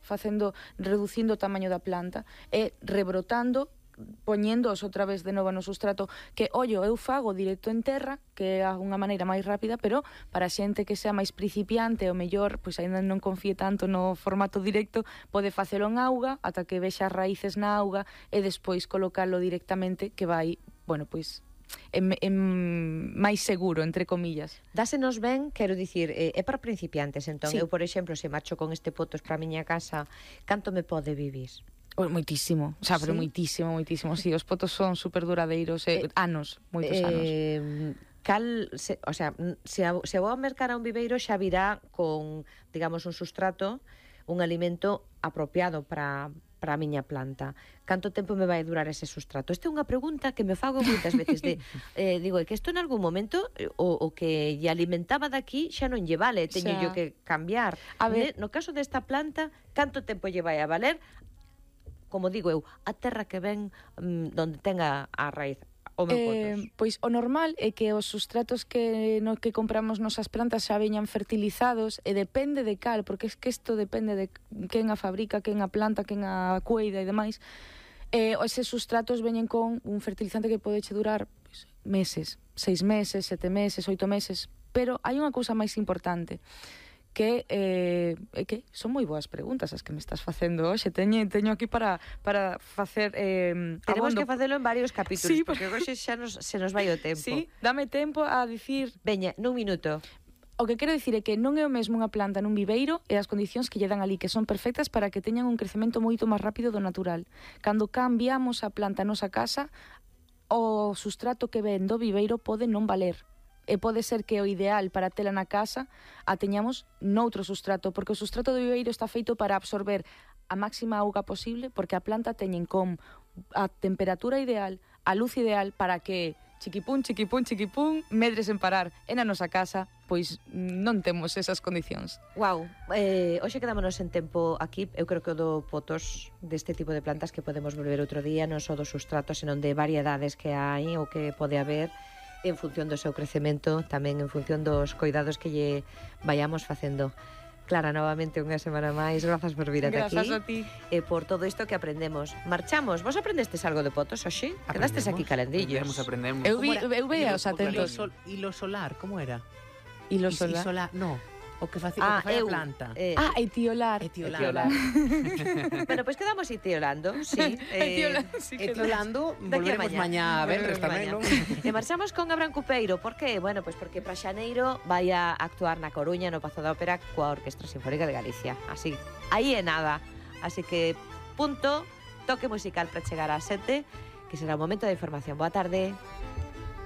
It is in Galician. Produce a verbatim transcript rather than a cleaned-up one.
facendo, reducindo o tamaño da planta e rebrotando, poñéndoos outra vez de novo no sustrato, que, ollo, eu fago directo en terra, que é unha maneira máis rápida, pero para xente que sea máis principiante, o mellor, pois aínda non confíe tanto no formato directo, pode facelo en auga, ata que vexa as raíces na auga, e despois colocalo directamente, que vai, bueno, pois, en, en máis seguro, entre comillas. Dásenos ben, quero dicir, é para principiantes, entón, sí. Eu, por exemplo, se marcho con este potos para a miña casa, canto me pode vivir? Moitísimo, o sea, pero Sí? moitísimo, moitísimo. Si, sí, os potos son super duradeiros, eh, eh, anos, moitos eh, anos. Cal, se, o sea, se a, se a vou a mercar a un viveiro xa virá con, digamos, un sustrato, un alimento apropiado para para a miña planta. Canto tempo me vai durar ese sustrato? Esta é unha pregunta que me fago moitas veces de, eh, digo, é que isto en algún momento o, o que lle alimentaba daqui xa non lle vale, teño yo que cambiar. A ver, no caso desta planta, canto tempo lle vai a valer? Como digo eu, a terra que ven mm, donde tenga a raíz. O meu eh, pois o normal é que os sustratos que no que compramos nosas plantas xa veñan fertilizados, e depende de cal, porque es que isto depende de quen a fabrica, quen a planta, quen a cuida e demais. Eh, eses sustratos veñen con un fertilizante que pode che durar pois, meses, seis meses, sete meses, oito meses, pero hai unha cousa máis importante, que eh, é que son moi boas preguntas as que me estás facendo hoxe. Teño, teño aquí para, para facer eh, Tenemos abondo. que facelo en varios capítulos, sí, porque hoxe xa nos, se nos vai o tempo. Sí, dame tempo a dicir... Veña, nun minuto. O que quero dicir é que non é o mesmo unha planta nun viveiro e as condicións que lle dan ali, que son perfectas para que teñan un crecemento moito máis rápido do natural. Cando cambiamos a planta a nosa casa, o sustrato que ven do viveiro pode non valer. E pode ser que o ideal para tela na casa a teñamos noutro sustrato, porque o sustrato do viveiro está feito para absorber a máxima auga posible, porque a planta teñen con a temperatura ideal, a luz ideal, para que chiquipún, chiquipún, chiquipún, medre sen parar. E na nosa casa, pois non temos esas condicións. Wow, eh, hoxe quedámonos en tempo aquí. Eu creo que o do potos deste tipo de plantas que podemos volver outro día, non só dos sustratos, senón de variedades que hai ou que pode haber, en función do seu crecemento, tamén en función dos cuidados que lle vayamos facendo. Clara, novamente unha semana máis, grazas por vir ata aquí. Grazas a ti. E por todo isto que aprendemos. Marchamos. Vos aprendestes algo de potos, hoxe? Quedastes aquí calendillos. Aprendemos, aprendemos. Eu, vi, eu veía os atentos. E lo solar, como era? E lo solar? solar, no. O que facía ah, o que fai a eu, planta. Eh, ah, etiolar. Etiolar. Bueno, pois pues quedamos etiolando, sí. Eh, etiolar, sí etiolando, volveremos mañá a venres tamén, non? E marchamos con Abraham Cupeiro, por que? Bueno, pois pues porque para xaneiro vai a actuar na Coruña, no Pazo da Ópera, coa Orquestra Sinfónica de Galicia. Así, aí é nada. Así que, punto, toque musical para chegar ás sete, que será o momento de información. Boa tarde.